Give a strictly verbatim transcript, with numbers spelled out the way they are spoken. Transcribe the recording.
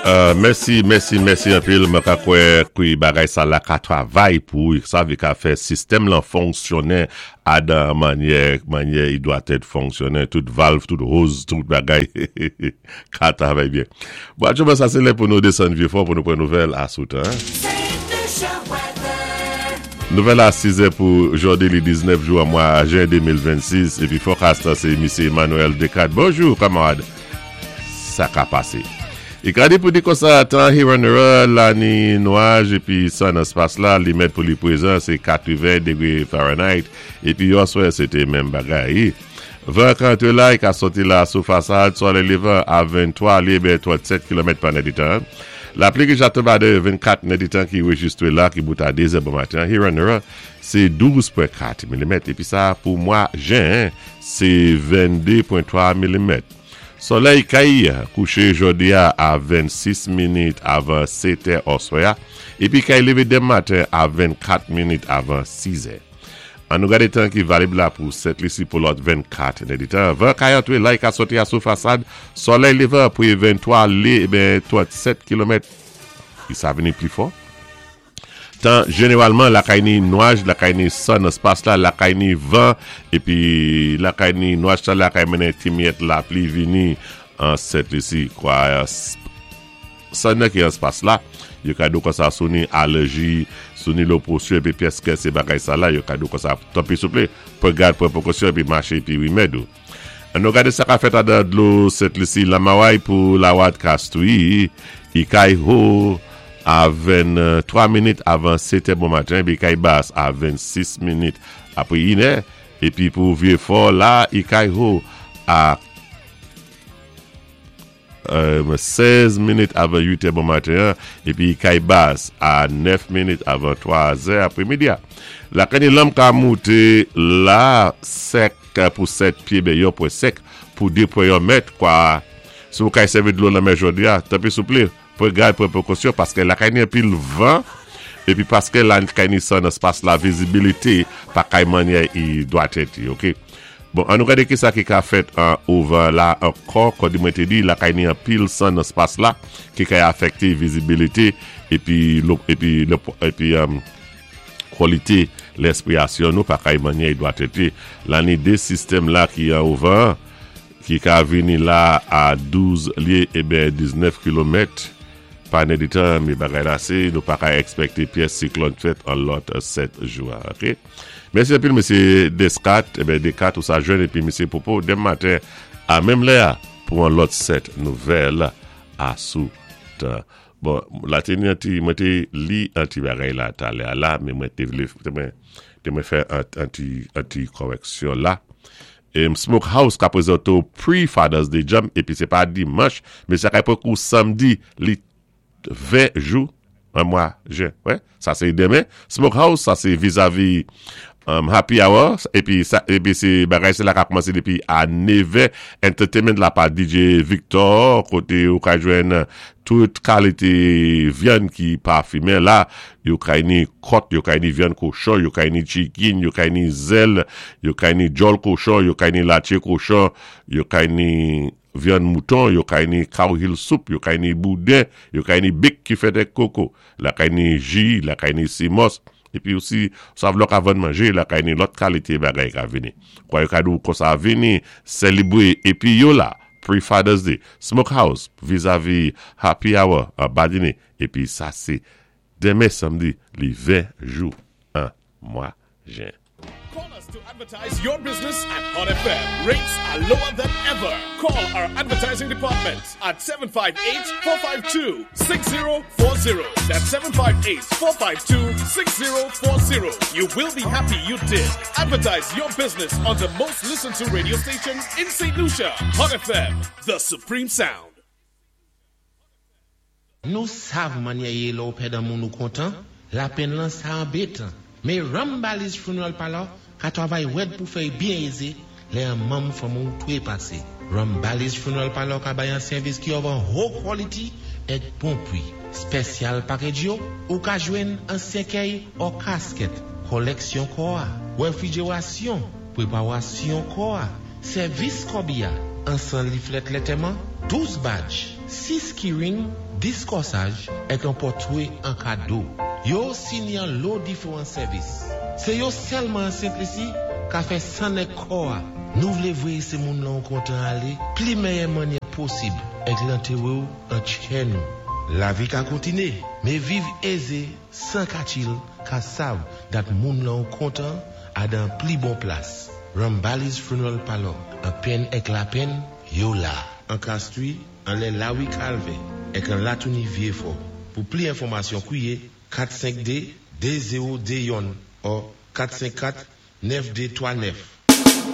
Euh, mèsi, mèsi, mèsi anpil. Mwen ka kwè ki bagay sa la ka travay pou sa vi ka fè sistèm lan fonksyonnen adan manyè, manyè i dwa tèt fonksyonnen. Tout valve, tout hose, tout bagay ka travay byen. Bon, aktyèlman sa se lè pou nou desann Vieux-Fort pou nou pran nouvèl a sou tan. Nouvèl a sis è pou jodi li diznèf jou an mwa jen de mil vennsis epi forecast se Misye Emmanuel Descartes. Bonjou, kamarad. Sa ka pase. I ka di pou di konsa tan Hewanorra la ni nwaj epi san nan spas la li met pou li prezan se katreven degre Fahrenheit epi yo aswè se te menm bagay. Van ka antre la, i ka soti la sou fasad, solèy levan a venntwa lye ben trannsèt kilomèt pa nèditan. Lapli ki jato ba de vennkat nèditan ki rejistre la ki bout a de zè bon maten. Hewanorra se douz pwen kat milimèt epi sa pou mwa jen se vennde pwen twa milimèt. Solèy kay kouché jodi a a vennsis minit avan sèt è oswè epi kay leve demen maten a vennkat minit avan sis è. An nou gade tan ki valib la pou Sent Lisi pou lòt vennkat nèditan. Van kay antre la, i ka soti a sou fasad, solèy levan pou venntwa lye ben trannsèt kilomèt. I sa vini pli fò. Tan jeneralman lakay ni nwaj, lakay ni san nan spas la, lakay ni van, epi lakay ni nwaj sa lakay mennen ti miyèt lapli vini an Sent Lisi. Kwa san nan ki an spas la, yo ka do konsa sou ni alèji, sou ni lo presyon epi pyès kè se bagay sa la, yo ka do konsa tanpri souple, pran gad, pran prekosyon epi mache epi rimèd ou. An nou gade sa ka fèt adan dlo Sent Lisi Lamaway pou la wad kastwi, i kay ho a venntwa minit avan sèt è bon maten, epi kay bas a vennsis minit apre inè, epi pou Vieux-Fort la, i kay ho a euh, sèz minit avan uit è bon maten, epi kay bas a nèf minit avan twa zè apremidi. La kani lanm ka moute la sèk pou sèt pye ben yon pwen senk pou de pwen en mèt kwa. Si ou kay sèvi dlo lanmè jodi a, tanpri souple, pran gad, pran prekosyon paske lakay ni anpil van epi paske la kay ni san nan spas la, vizibilite pa kay manyè i dwa tèt, OK. Bon, an nou gade ki sa ki ka fèt an ouvan la ankò, kon di mwen te di, lakay ni anpil san nan spas la, ki kay afekte vizibilite epi epi epi um, kwalite lespirasyon nou pa kay manyè i dwa tèt. La ni de sistèm la ki an ouvan, ki ka vini la a douz lye e ben diznèf kilomèt pa nèditan, mi bagay la se, nou pa ka ekspekte pyès siklòn fèt an lòt sèt jou. OK? Mèsi anpil, Mesye Descat, eh ben Descat ou sa jwenn epi Mesye Popo, demen maten a menm lè pou an lòt sèt nouvèl a sou tan. Bon, la te ni anti, mwen te li anti bagay la talè la, men mwen te vle, mwen te mwen fè anti, anti koreksyon la. E Smokehouse ka prezante pre-Father's Day Jam, epi se pa dimanch, men sa kay pou kou samdi, li ven jou, an mwa jen. Ouais, sa se demen. Smokehouse, sa se vizavi um, Happy Hour, epi, sa, epi se bagay se la ka kòmanse depi a nevè. Entertainment la pa D J Victor, kote ou ka jwenn tout kalite vyann ki pa fimen la, yo kay ni kòt, yo kay ni vyann kochon, yo kay ni chicken, yo kay ni zèl, yo kay ni djòl kochon, yo kay ni latye kochon, yo kay ni vyann mouton, yo kay ni cow heel soup, yo kay ni bouden, yo kay ni bik ki fèt ak koko, la kay ni ji, la kay ni simos, epi osi, sa vlok avan manje, la kay ni lòt kalite bagay ka vini. Kwa yo kadou konsa vini, selebre, epi yo la, pre-Father's Day, Smokehouse, vizavi Happy Hour, an Badine, epi sa se demen samdi, li ven jou an mwa jen. Call us to advertise your business at Hot F M. Rates are lower than ever. Call our advertising department at seven five eight, four five two, six zero four zero. That's seven five eight, four five two, six zero four zero. You will be happy you did. Advertise your business on the most listened to radio station in Saint Lucia. Hot F M, the supreme sound. Nou sav manyè ye lò ou pèd an moun ou kontan, lapenn lan sa anbetan. Men Rambali's Funeral Parlor ka travay wèd pou fèy byen eze, lè an manm fanmi ou twe pase. Rambali's Funeral Parlor ka bay an sèvis ki ovan haut quality et bon pri. Spesyal package yo, ou ka jwenn an sèkèy ou kasket, koleksyon kò a, refrijerasyon, preparasyon kò a, sèvis kòbiya, ansan leaflet lantèman, douz badge. sis keyring, dis kòsaj èk an pòtwé an kado. Yo osi ni an lo diféwan sèvis. Sé yo sèlman an Sent Lisi ka fè sann èk kò-a. Nou vlé voyé sé moun lan ou kontan alé, pli méyè mannyè posib, èk lantéwé-w an tchè nou. Lavi ka kontiné, mé viv ézé, san katchil, ka sav dat moun lan ou kontan a dan pli bon plas. Rambali's Funeral Parlor, an penn èk lapenn, yo la. An Castries, anlè Lawi Kalvè, èk an Latouni Vyéfò. Pou pli enfòmasyon kwié kat senk dé, dé zewo dé youn ou kat senk kat, nèf dé twa nèf.